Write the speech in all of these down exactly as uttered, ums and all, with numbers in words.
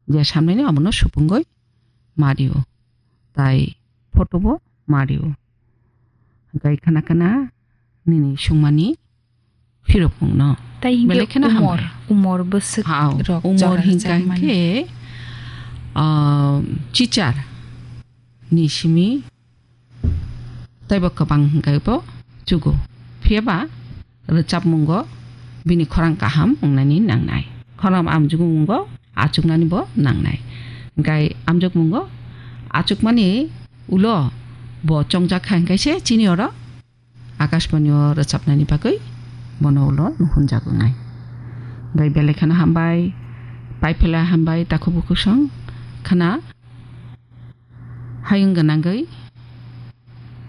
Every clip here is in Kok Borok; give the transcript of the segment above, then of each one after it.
je samnaini omono supungwi mario, tai photo bo mario. Hwnkhe khana khana nini sungmani phirokmungno. Tai hinkhe belai kheno umor, hambai. Umor bwswk hao, rok umor jora hingka rwchapmani. Hinkhe, ah, chichar ni simi teibo kwbang hingkhe bo chugo. Phiyaba rwchapmungo bini khorang kaham wngnani nangnai. Khorang amjukmungo achuknani bo nangnai. Hingkhe amjukmungo achukmani ulo bo chongjak kha hingkhe se chini oro Akashbani o rwchapnani bagwi bono ulo nuhunjago nai. Bai belai kheno hambai, paipela hambai, takhuk bukhuk song khana hayung gwnangwi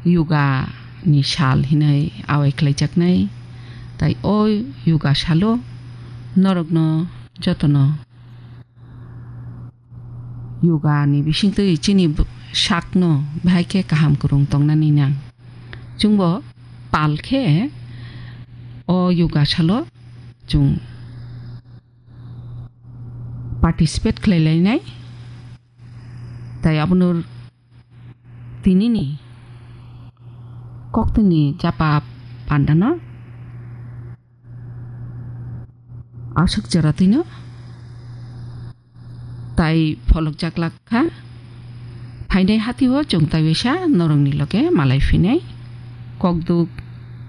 yoga ni sal hinwi awai khlaijaknai. Tai o yoga salo norokno jotono yoga ni bisingtwi chini b-, sakno bahai khe kaham kwrwng tongnani nang. Chwngbo pal khe o yoga salo chwng participate khlai lainai. Tai abono tinini koktwini japa pandano aswk jora twino tai pholokjak lak kha. Phainai hatio chwng taiwisa norokni loge malai phinai kokduk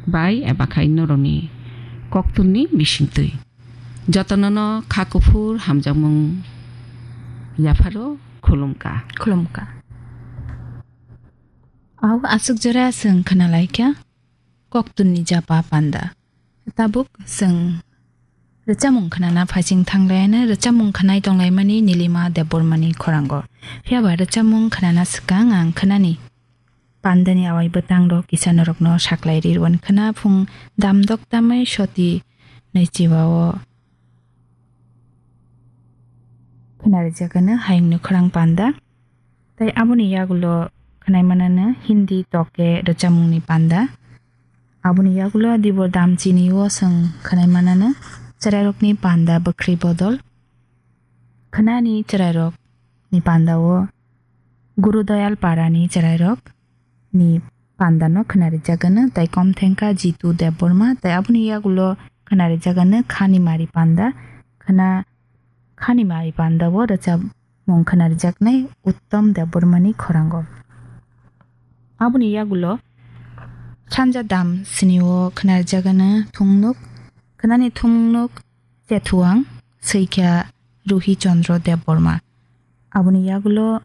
bai eba khai norokni koktwini bisingtwi. Jotonono kha kuphur hamjakmung yapharo khulumkha. Khulumkha. Au aswk jora chwng khwnalaikha. Koktwini japa panda. Tabuk chwng rwchapmung khnana phaising thanglaina, rwchapmung khnai tonglaimani Nilima Debbarmani khorango. Phiyaba rwchapmung khnana swkang ang khnani pandani awai bwtang rok kisa norokno saklai rirwan khna phung damdok tamai soti naichiba o khna rijak ano hayungni khorang panda. Tai aboni yagulo khnai manano Hindi toke rwchapmungni panda. Aboni yagulo dibor damchini o chwng khnai manano chwrairokni panda bwkhri bodol. Khnani chwrairokni panda o Guru Doyal Parani chwrairok ni panda no khna rijak ano, tai kom thengkha Jitu Debbarma, tai aboni yagulo khna rijak ano Khani Mari panda, khna Khani Mari panda o rwchapmung khna rijaknai Uttam Debbarmani khorango. Aboni yagulo sanja dam sini o khna rijak ano thungnuk, khnani thungnuk chethuang swikha Ruhi Chandra Debbarma. Aboni yagulo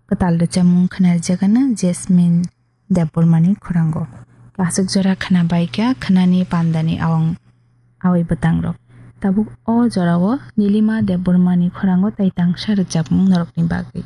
kwtal rwchapmung khna rijak ano Jasmine Debbarmani khorango. Aswk jora khna baikha khnani pandani awang awai bwtang rok. Tabuk o jorao Nilima Debbarmani khorango tai tangsa rwchapmung norokni bagwi.